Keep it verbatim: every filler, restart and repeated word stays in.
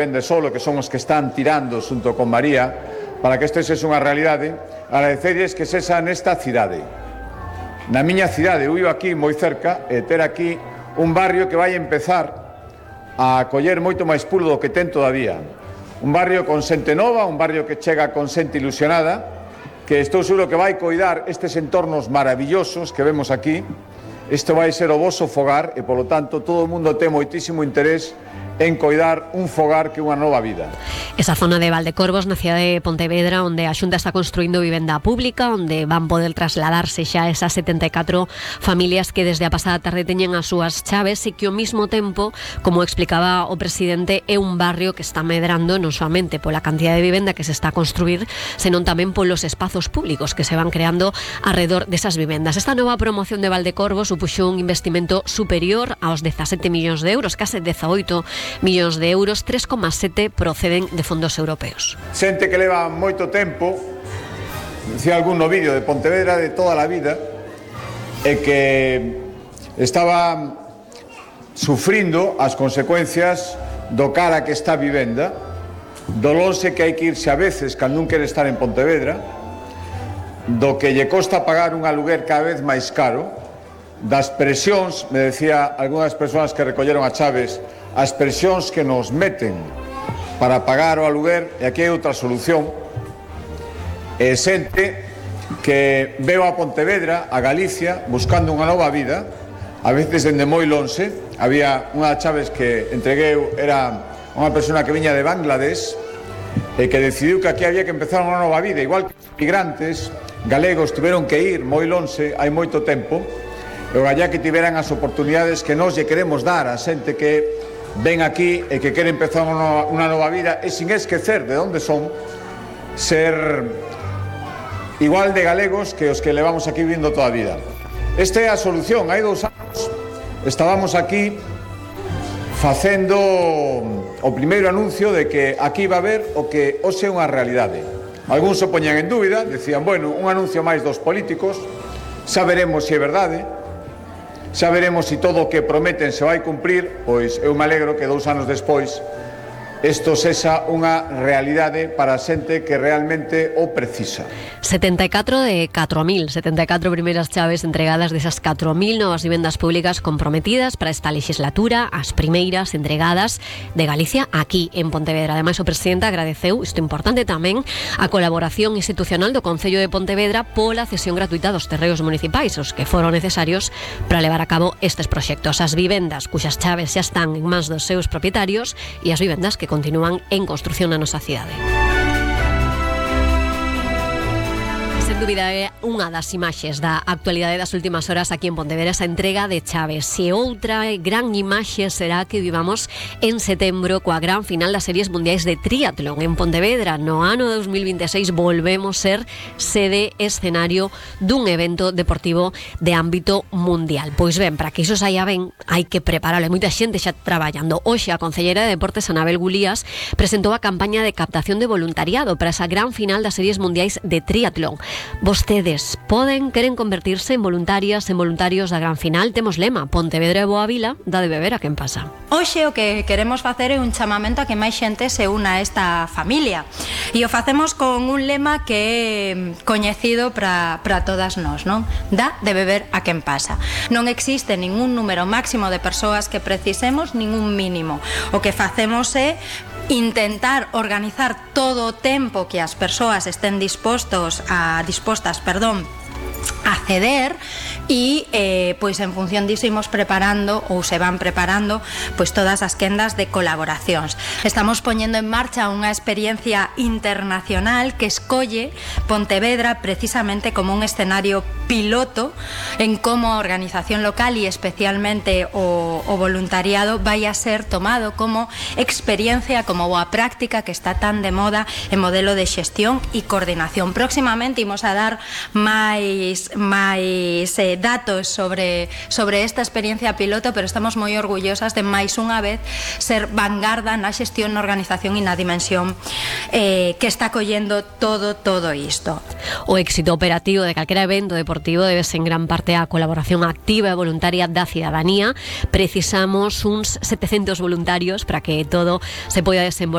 vende solo, que son os que están tirando xunto con María, para que isto sexa unha realidade, agradecerles que sexa nesta cidade. Na miña cidade, eu vivo aquí moi cerca, e ter aquí un barrio que vai empezar a coller moito máis pulo do que ten todavía. Un barrio con xente nova, un barrio que chega con xente ilusionada, que estou seguro que vai coidar estes entornos maravillosos que vemos aquí. Isto vai ser o voso fogar e, polo tanto, todo o mundo ten moitísimo interés en coidar un fogar que unha nova vida. Esa zona de Valdecorvos, na cidade de Pontevedra, onde a Xunta está construindo vivenda pública, onde van poder trasladarse xa esas setenta e catro familias que desde a pasada tarde teñen as súas chaves e que ao mesmo tempo, como explicaba o presidente, é un barrio que está medrando non soamente pola cantidad de vivenda que se está a construir, senón tamén polos espazos públicos que se van creando alrededor desas vivendas. Esta nova promoción de Valdecorvos supuxo un investimento superior aos dezasete millóns de euros, case dezaoito millóns de euros, tres coma sete proceden de fondos europeos. Xente que leva moito tempo, decía algún no vídeo de Pontevedra de toda a vida, e que estaba sufrindo as consecuencias do cara que está a vivenda, do lonxe que hai que irse a veces cando non quere estar en Pontevedra, do que lle costa pagar un aluguer cada vez máis caro, das presións, me decía algunhas persoas que recolleron a chaves, as presións que nos meten para pagar o aluguer, e aquí hai outra solución. E xente que veo a Pontevedra, a Galicia, buscando unha nova vida, a veces dende moi lonxe. Había unha chaves que entreguei, era unha persona que viña de Bangladesh e que decidiu que aquí había que empezar unha nova vida, igual que os migrantes galegos tiveron que ir moi lonxe hai moito tempo, e o gallá que tiveran as oportunidades que nós lle queremos dar a xente que ven aquí e que quere empezar unha, unha nova vida, e sin esquecer de onde son, ser igual de galegos que os que levamos aquí vivindo toda a vida. Esta é a solución. Hai dous anos estábamos aquí facendo o primeiro anuncio de que aquí va a haber o que hoxe é unha realidade. Algúns se poñan en dúbida, decían, bueno, un anuncio máis dos políticos, xa veremos se é verdade, xa veremos se todo o que prometen se vai cumprir. Pois eu me alegro que dous anos despois isto sexa unha realidade para a xente que realmente o precisa. setenta e catro de catro mil, setenta e catro primeiras chaves entregadas desas catro mil novas vivendas públicas comprometidas para esta legislatura, as primeiras entregadas de Galicia aquí en Pontevedra. Ademais, o presidente agradeceu, isto importante tamén, a colaboración institucional do Concello de Pontevedra pola cesión gratuita dos terreos municipais, os que foron necesarios para levar a cabo estes proxectos. As vivendas cuxas chaves xa están en mans dos seus propietarios e as vivendas que continúan en construción na nosa cidade. Sen dúbida é unha das imaxes da actualidade das últimas horas aquí en Pontevedra, esa entrega de chaves. E outra gran imaxe será que vivamos en setembro coa gran final das series mundiais de triatlón en Pontevedra. No ano dos mil vinte e seis volvemos ser sede escenario dun evento deportivo de ámbito mundial. Pois ben, para que iso saia ben, hai que prepararlo. Hai moita xente xa traballando. Hoxe a concelleira de Deportes, Anabel Gulías, presentou a campaña de captación de voluntariado para esa gran final das series mundiais de triatlón. Vostedes poden, queren convertirse en voluntarias, en voluntarios da gran final. Temos lema, Pontevedra e Boa Vila, dá de beber a quen pasa. Hoxe o que queremos facer é un chamamento a que máis xente se una a esta familia, e o facemos con un lema que é coñecido para todas nós, non? Dá de beber a quen pasa. Non existe ningún número máximo de persoas que precisemos, ningún mínimo. O que facemos é intentar organizar todo o tempo que as persoas estén dispostos a dispostas, perdón, a ceder, e eh, pois en función diso imos preparando ou se van preparando pois todas as quendas de colaboracións. Estamos poñendo en marcha unha experiencia internacional que escolle Pontevedra precisamente como un escenario piloto en como a organización local e especialmente o, o voluntariado vai a ser tomado como experiencia, como boa práctica que está tan de moda en modelo de xestión e coordinación. Próximamente imos a dar máis máis máis eh, datos sobre, sobre esta experiencia piloto, pero estamos moi orgullosas de máis unha vez ser vanguarda na xestión, na organización e na dimensión eh, que está collendo todo, todo isto. O éxito operativo de calquera evento deportivo debe-se en gran parte á colaboración activa e voluntaria da cidadanía. Precisamos uns setecientos voluntarios para que todo se poida desenvolver